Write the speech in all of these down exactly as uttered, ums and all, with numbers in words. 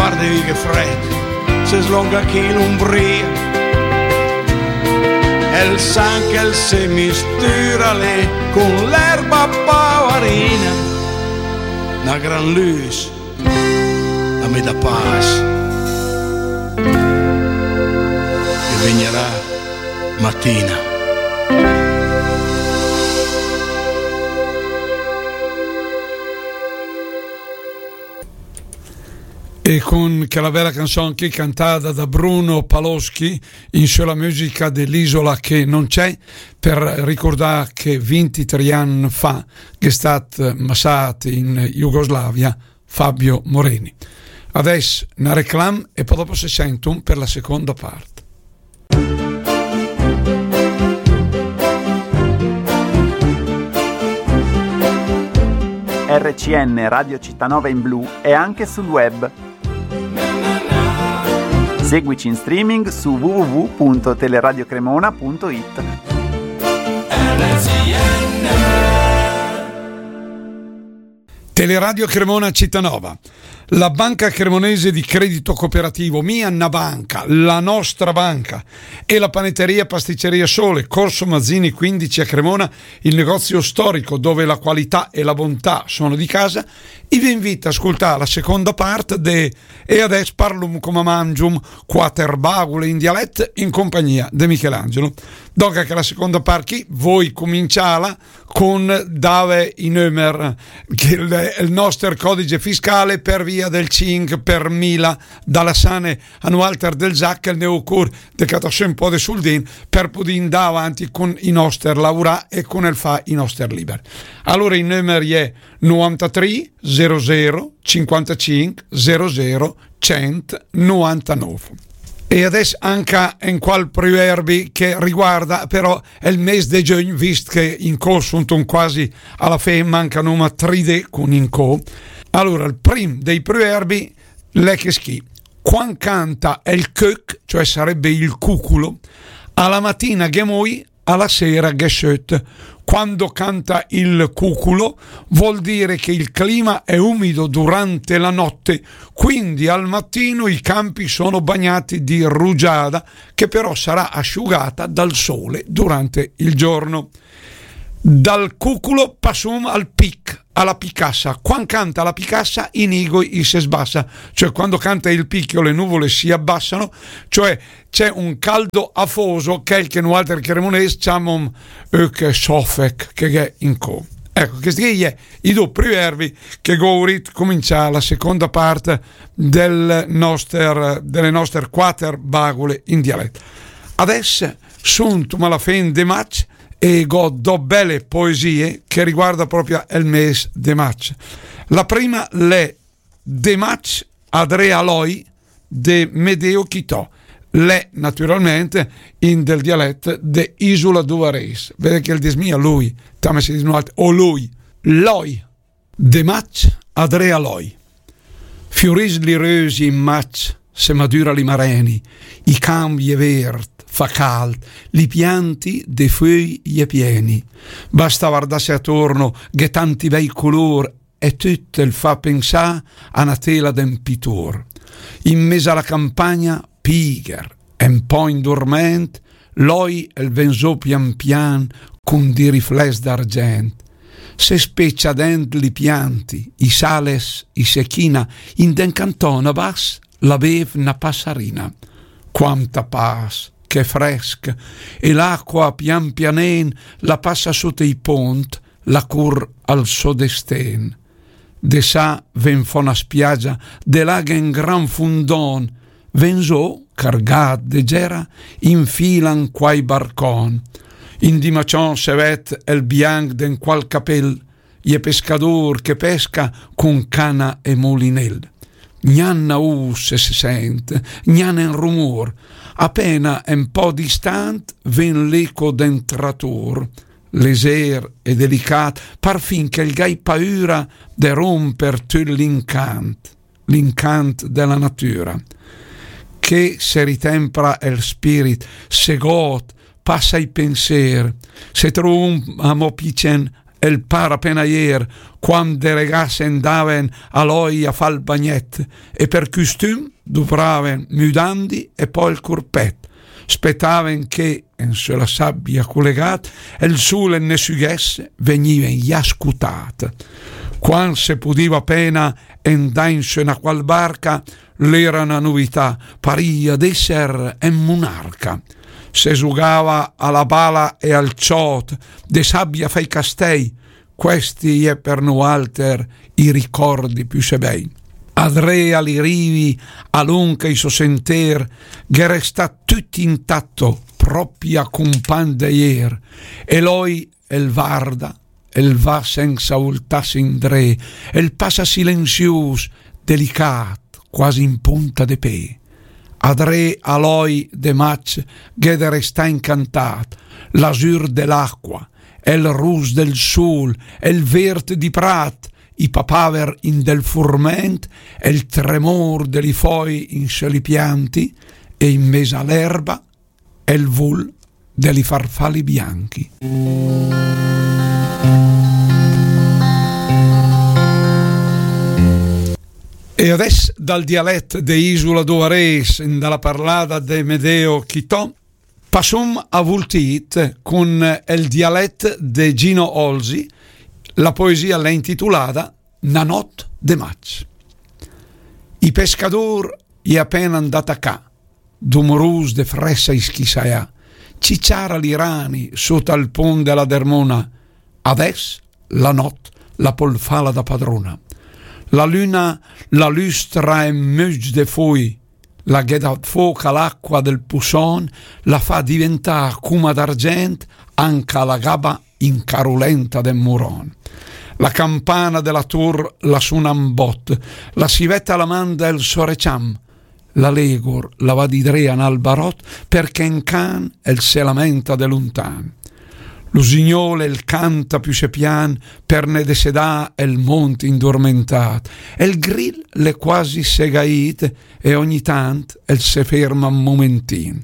Guarda che frèd, se slonga chì l'Umbria. El sangh el se mistüra lé con l'erba pavarina. Na gran lüs a me dà pas. E vegnarà matina. E con quella bella canzone qui cantata da Bruno Paloschi in sulla musica dell'Isola che non c'è, per ricordare che vintitrì anni fa che è stato massato in Jugoslavia Fabio Moreni. Adesso una reclam e poi dopo si sentono per la seconda parte. R C N Radio Città Nova in blu è anche sul web. Seguici in streaming su w w w punto teleradio cremona punto i t. Teleradio Cremona Città Nova. La Banca Cremonese di Credito Cooperativo, mia na banca, la nostra banca, e la panetteria pasticceria Sole, Corso Mazzini quindici a Cremona, il negozio storico dove la qualità e la bontà sono di casa, i vi invita a ascoltare la seconda parte de E adess parlum come mangium, quater bagule in dialet in compagnia de Michelangelo. Donca che la seconda part chi voi cominciala con dave i nömer, che è il nostro codice fiscale per via del cinque per mila, dalla sane a nualter del Zac, el ne ocor de catar sö un po' de suldin per poter andare avanti con i nostri lavorà e con el fa i nostri liber. Allora i nömer è novantatré zero zero cinquantacinque zero zero centonovantanove. E adess anca en qual pruerbi che riguarda però el mes de giögn, vist che incò suntum quasi a la fe, manca noma tri dé con incò. Allora, el prim dei pruerbi l'è chest chi: quan canta el cöch, cioè sarebbe il cuculo, a la matina gh'è moi, a la sera gh'è söt. Quando canta il cuculo vuol dire che il clima è umido durante la notte, quindi al mattino i campi sono bagnati di rugiada, che però sarà asciugata dal sole durante il giorno. Dal cuculo passum al pic, a la picassa. Quan canta la picassa, i nigoi i se sbassa, cioè quando canta il picchio le nuvole si abbassano, cioè c'è un caldo afoso, chel che nualter cremones ciamom öch sofec, che gh'è incò. Ecco, chest chi è i do pruerbi che gh'ho vurit comincià la seconda part del noster, delle noster quater bagule in dialet. Adess suntum a la fen de maig e gh'ho do belle poesie che riguarda proprio el mes de maig. La prima l'è De maig adré a Loi de Medeo Chitò. L'è naturalment in del dialet de Isola d'Uvarés. Vede che el dis mia lui, tame se dis nualter, o lui, Loi. De maig adré a Loi. Fiuris li rösi in maig, se madüra li mareni, i camp i è vert, fa cald, li pianti de föi i è pieni. Basta vardasse atorno, gh'è tanti bei color, e töt el fa pensà a na tela de 'n pitor. In mes a la campagna, piger, e 'n po' indurment, Loi el ven zó pian pian cun di rifless d'argent. Se specia dent li pianti, i sales, i se china, in de 'n canton a bass la bev na passarina. Quanta pass, che fresc, e l'acqua pian pianen la passa sota i pont, la cur al so desten. De sà ven fò na spiagia, de là gh'è 'n gran fundon, ven zó, cargat de gera, infilan quai barcon. In di macion se ved el bianc de 'n qual capel, i è pescador che pesca cun cana e mulinel. Gnan na us se sent, gnan en rumor, apena en po distant ven l'eco de 'n trator, lezer e delicat, parfin che el gh'ai paüra de romper töt l'incant, l'incant de la natüra. Che se ritempra el spirit, se god, passa i penser, se trom amò picen el par apena ier, quand de regà se 'ndaven a l'oia a fà 'l bagnet, e per custum dupraven müdandi e pò el curpet. Spetaven che, en sö la sabia culegat, el sul el ne süghesse, vegniven ja scutat. Quand se pudiva apena 'ndà in sö na qual barca, l'era na nuvità, paria d'esser en munarca. Se zugava a la bala e al ciot, de sabia fai castei, questi i è per nualter i ricordi püsé bei. Adré a li rivi, a lunca i so senter, gh'è restà tüt intatto, propia cumpagn de ier, e l'oi el varda, el va sensa ultàs indré, el passa silenzius, delicat, quasi in punta de pé. Adré a l'oi de maig gh'è de restà incantat, l'azur de l'acqua, el rus del sul, el vert di prat, i papaver in del furment, el tremor de li foi in sö li pianti, e in mes a l'erba, el vul de li farfali bianchi. E adess dal dialet de Isula d'Oarés, in da la parlada de Medeo Chitò, passum a Vultit cun el dialet de Gino Olzi, la poesia l'è intitulada Na not de maig. I pescadur i è apena 'ndat a cà, dumurus de fressa i schissaia, ciciara li rani sut al pun de la dermuna, adess la not la pol fala da padruna. La lüna la lüstra en müg de fui, la ghe dà foc a l'acqua del pusson, la fa diventà cuma d'argent anca la gaba incarulenta del muron. La campana de la tur la suna 'n bot, la sivetta la manda el so reciam, la legur la va di dré a 'n albarot, perché 'n can el se lamenta de luntan. L'usignol el canta püsé pian per ne desedà el mont indurmentat. El gril l'è quasi segait e ogni tant el se ferma un mumentin.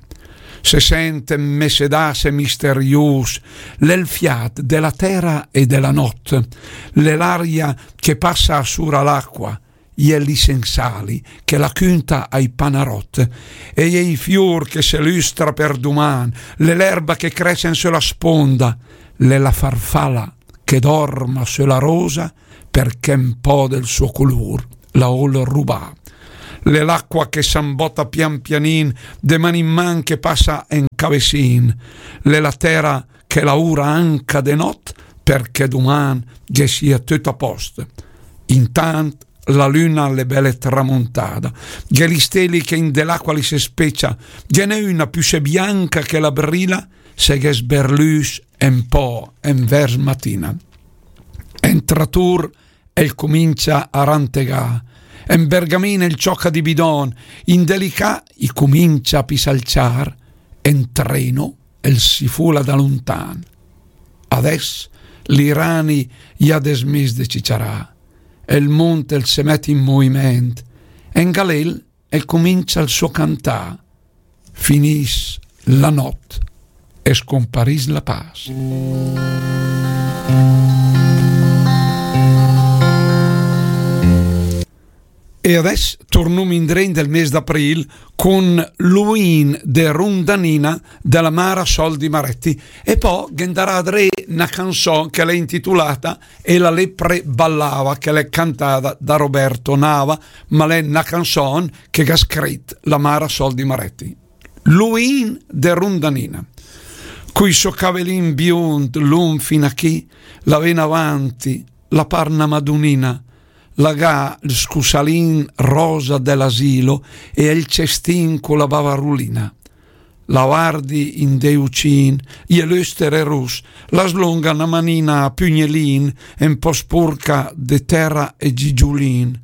Se sent en mesedàs e misterius, l'è 'l fiat de la tera e de la not, l'è l'aria che passa a sura l'acqua, i è li sensali che la cünta ai panarot, e i è i fiur che se lüstra per duman, l'è l'erba che cress en sö la sponda, l'è la farfala che dorma sö la rosa, perché un po' del suo color la vol rubà. L'è l'acqua che s'ambota pian pianin, de man in man che passa en cavesin, l'è la tera che laura anca de not, perché duman ghe sia tüt a post. Intant la lüna l'è bele tramuntada, ghe li steli che in de l'acqua li se specia, ghe n'è una püsé bianca che la brila, se ghe sberlüs un po' envers matina. En tratur el cumincia a rantegà, en bergamin el cioca di bidon, in de li cà i cumincia a pisà 'l ciar, en treno el si fula da luntan. Adess li rani i à desmis de ciciarà, el mont el se met in muviment, en galel el cumincia el so cantà, finiss la not e scompariss la pas. E adess turnum indré in del mes d'april cun Luin de Rundanina de la Mara Sol di Maretti, e pò ghe 'ndarà dré na canzon che l'è intitulata E la lepre ballava, che l'è cantada da Roberto Nava, ma l'è na canzon che gh'à scrit la Mara Sol di Maretti. Luin de Rundanina. Cui so cavelin biund, lung fin a chì, la ven avanti, la par na madunina, la gh'à 'l scusalin rosa de l'asilo e el cestin cu la bavarulina. La vardi in de ucin, i è lüster e rus, la slunga na manina a pugnelin, un po' spurca de tera e gigiulin.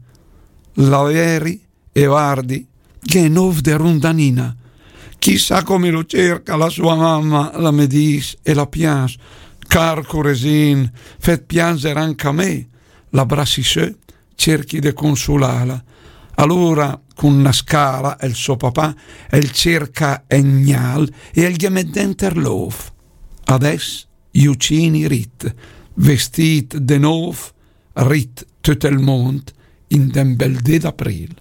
La veri e vardi, gh'è nov de Rundanina. Chissà come lo cerca la sua mamma, la me dis e la pians. Car curesin, fet pianzer anca me, la brassi sö, cerchi de consulala. Alura, cun na scala, el so papà, el cerca en gnal e el ghe met denter l'ov. Adess i ucin i rit, vestìt de nóv, rit töt el mónd in den bèl dé d'aprìl.